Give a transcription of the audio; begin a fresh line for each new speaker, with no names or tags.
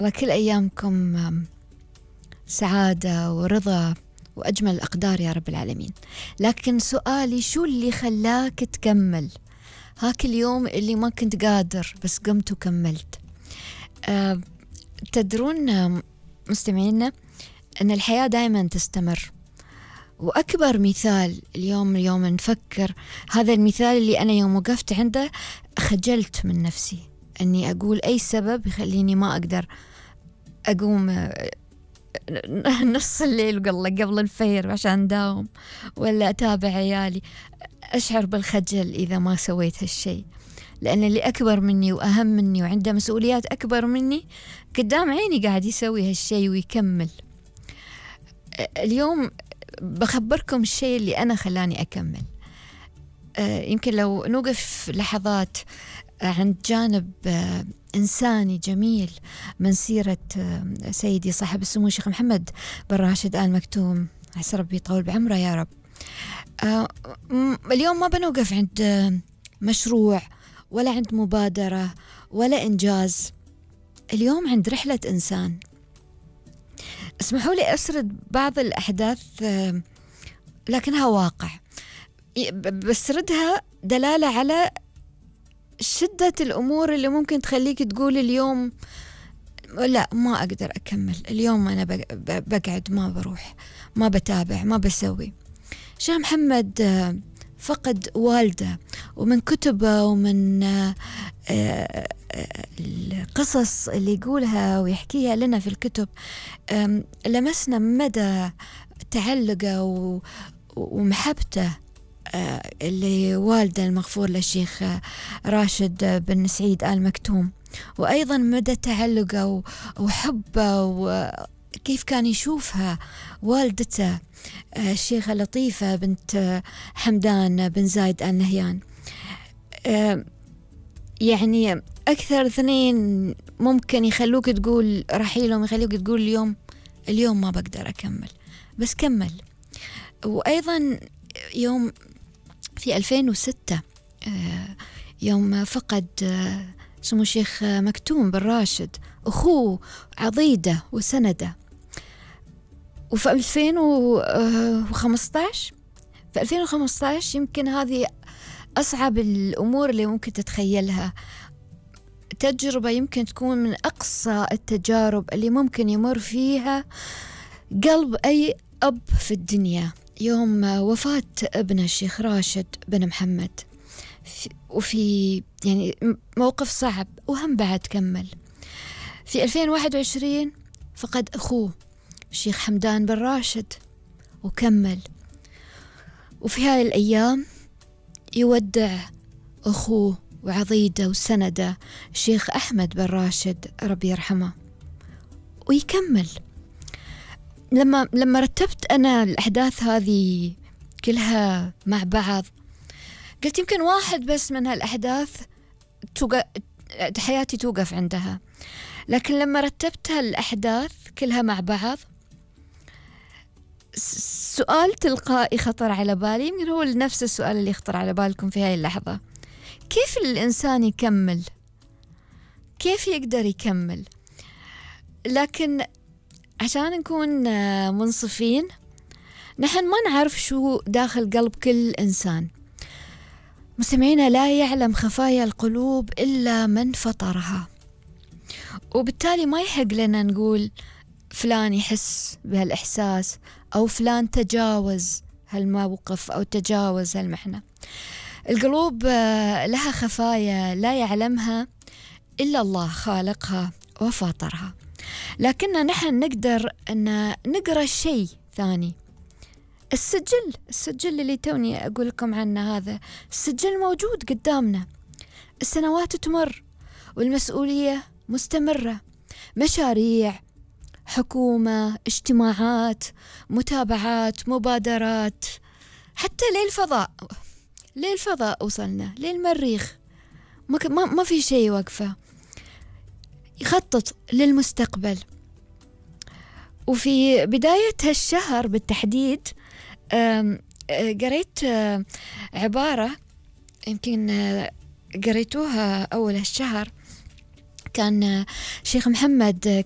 الله كل أيامكم سعادة ورضا وأجمل الأقدار يا رب العالمين. لكن سؤالي، شو اللي خلاك تكمل هاك اليوم اللي ما كنت قادر بس قمت وكملت؟ تدرون مستمعينا أن الحياة دائما تستمر، وأكبر مثال اليوم نفكر هذا المثال اللي أنا يوم وقفت عنده خجلت من نفسي أني أقول أي سبب يخليني ما أقدر أقوم نص الليل قبل الفير عشان داوم ولا أتابع عيالي. أشعر بالخجل إذا ما سويت هالشيء، لأن اللي أكبر مني وأهم مني وعنده مسؤوليات أكبر مني قدام عيني قاعد يسوي هالشيء ويكمل. اليوم بخبركم الشيء اللي أنا خلاني أكمل. يمكن لو نوقف لحظات عند جانب إنساني جميل من سيرة سيدي صاحب السمو الشيخ محمد بن راشد آل مكتوم، عسى ربي يطول بعمره يا رب. اليوم ما بنوقف عند مشروع ولا عند مبادرة ولا إنجاز، اليوم عند رحلة إنسان. اسمحوا لي أسرد بعض الأحداث لكنها واقع، بسردها دلالة على شدة الأمور اللي ممكن تخليك تقول اليوم لا ما أقدر أكمل، اليوم أنا بقعد ما بروح ما بتابع ما بسوي. شيخ محمد فقد والده، ومن كتبه ومن القصص اللي يقولها ويحكيها لنا في الكتب لمسنا مدى تعلقه ومحبته اللي والده المغفور للشيخ راشد بن سعيد آل مكتوم، وأيضا مدى تعلقه وحبه وكيف كان يشوفها والدته الشيخة لطيفة بنت حمدان بن زايد آل نهيان. يعني أكثر اثنين ممكن يخلوك تقول رحيلهم، يخلوك تقول اليوم ما بقدر أكمل، بس كمل. وأيضا يوم في 2006 يوم فقد سمو الشيخ مكتوم بن راشد أخوه عضيده وسنده، وفي 2015 يمكن هذه أصعب الأمور اللي ممكن تتخيلها. تجربة يمكن تكون من أقصى التجارب اللي ممكن يمر فيها قلب أي أب في الدنيا، يوم وفاة ابن الشيخ راشد بن محمد، وفي يعني موقف صعب وهم بعد كمل. في 2021 فقد أخوه الشيخ حمدان بن راشد وكمل. وفي هاي الأيام يودع أخوه وعضيده وسنده الشيخ أحمد بن راشد ربي يرحمه ويكمل. لما رتبت أنا الأحداث هذه كلها مع بعض قلت يمكن واحد بس من هالأحداث حياتي توقف عندها، لكن لما رتبتها الأحداث كلها مع بعض سؤال تلقائي خطر على بالي، يمكن هو نفس السؤال اللي يخطر على بالكم في هاي اللحظة: كيف الإنسان يكمل؟ كيف يقدر يكمل؟ لكن عشان نكون منصفين، نحن ما نعرف شو داخل قلب كل إنسان. مستمعينا، لا يعلم خفايا القلوب إلا من فطرها، وبالتالي ما يحق لنا نقول فلان يحس بهالإحساس أو فلان تجاوز هالموقف أو تجاوز هالمحنة. القلوب لها خفايا لا يعلمها إلا الله خالقها وفاطرها، لكننا نحن نقدر أن نقرأ شيء ثاني. السجل اللي توني أقول لكم عنه، هذا السجل موجود قدامنا. السنوات تمر والمسؤولية مستمرة، مشاريع، حكومة، اجتماعات، متابعات، مبادرات، حتى للفضاء وصلنا، للمريخ، ما في شيء وقفة. يخطط للمستقبل. وفي بداية هالشهر بالتحديد قريت عبارة يمكن قريتوها أول هالشهر، كان شيخ محمد